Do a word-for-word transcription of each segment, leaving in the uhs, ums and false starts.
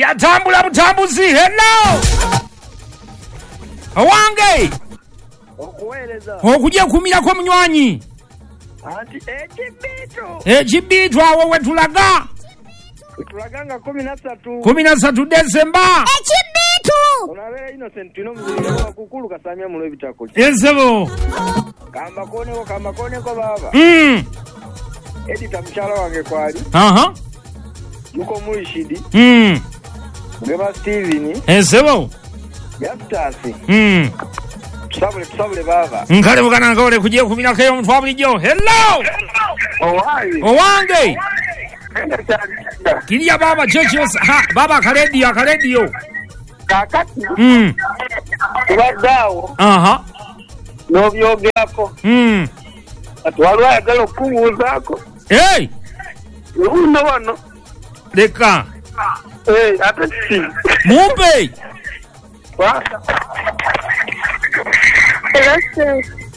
Yatambula butambuzi. Hello owange, okuweereza okujja kumirako munywanyi anti ekibiitu ekibiitu awo wetulaga tulaga nga kumi na ssatu kumi na ssatu Desemba ekibiitu onabeera Innocent tulina omuzirira wakukulu kasamya mulo ebitako ezebo kamba koneko kamba koneko baaba mm. Edita mukyala wange kwali aha yuko Murishidi mm. Mugema Steven ezebo Yastasi mm. tusabule tusabule baba nkale bugana nkole kujja kumirako eyo omuntu wa bulijjo. Hello owayi owange kiriya baba kyekyo ha baba akaredio akaredio kakati mm. tubadde awo aha n'obyogerako mm. kati waliwo ayagala okukubuuzaako hey! uno wano leka Eh, ate ki mumpe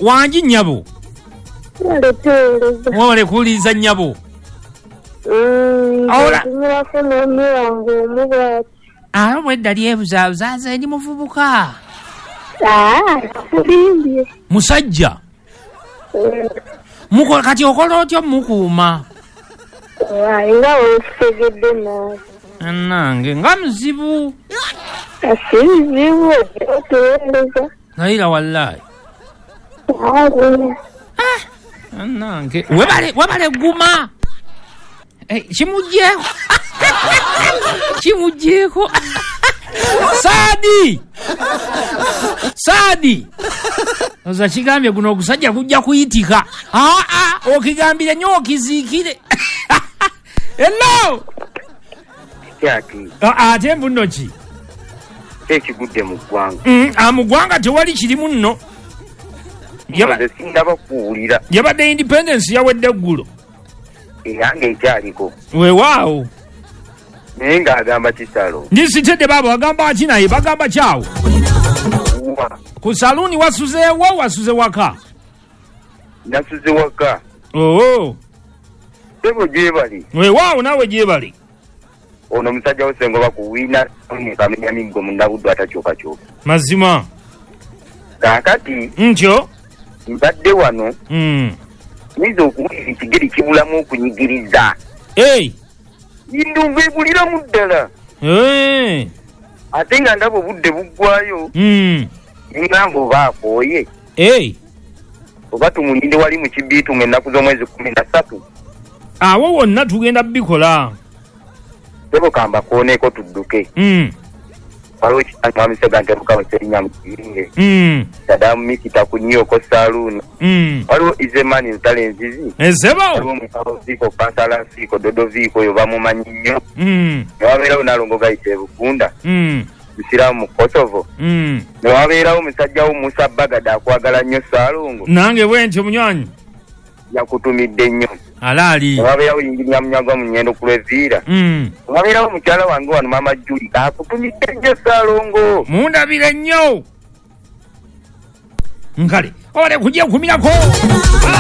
wangi nnyabo mwewale kuwuliriza nnyabo. Ola. Ntumirako n'omuwange omu bw'ati. Ate obwedda lyebuzaabuza nze ndi muvubuka. Aa, kulimbye. Musajja. Mukola kati okola otya mukuuma? Waayi nga weekitegedde naawe. Nange nga muzibu. Si bizibu otuweereza. Nayira wallahi. Aa, Nange webale webale guma. Eh, kimuggyeko. Kimuggyeko. Saadi! Saadi! Oza kigambye guno ogusajja gujja kuyitika. Aa, aa, okigambire nnyo okiziikire. Hello! Kyaki. Ate mbuno ki? Ekigudde mu ggwanga. Mm, ah, mu ggwanga tewali kirimu nno. Nze sindaba kuwulira. Yabadde independence yawedde eggulo. Eyange ekyaliko. Weewaawo. Naye ng'agamba kisalo. Ndisitedde baaba bagamba ki naye bagamba kyawo. Ku saluuni wasuzeewo wasuze waka? Nasuze waka. Oo. Ssebo gyebali. Weewaawo naawe gyebali. Ono omusajja wo Ssengoba ku Wina kamenya miggo munnabuddu atakyukakyuka. Mazima. Kaakati. Ntyo. Mbadde wano. Mm. Nyinza okuwulira ekigere kibulamu okunyigiriza. Hey. Ndumva ebuliramu ddala. Hey. Ate nga ndaba obudde buggwayo. Mm. Ngamba oba akooye. Hey. Oba tumulinde wali mu kibiitu ng'ennaku z'omwezi kumi na ssatu. Awo wonna tugenda bikola. Ssebo kamba kooneko tudduke. Mm. Waliwo ekitanyi Sega Serinnya mu Kiyinge. Mm. Sadamu Mikita ku Nnyoko Saluuni. Mm. Waliwo Izemani Ntale Nzizi. Ezebo. Waliwo Mukalo Viiko, Kansala Nsiiko, Dodo Viiko oyo bamumanyi nnyo. Mm. Ne wabeerawo Nalongo Gayita e Bugunda. Mm. Musiraamu mu Kosovo. Mm. Ne wabeerawo musajja wo Musa Bagada akwagala nnyo Ssaalongo. Nange bwe ntyo munywanyi. Yakutumidde nnyo. Alaali. Ne wabeerawo Yinginiya Munyagwa mu Nnyendo ku Lweviira. Mm. Ne wabeerawo mukyala wange wano Maama Juli akutumidde nnyo Ssaalongo. Mundabire nnyo. Nkale. Ole kujja kumirako.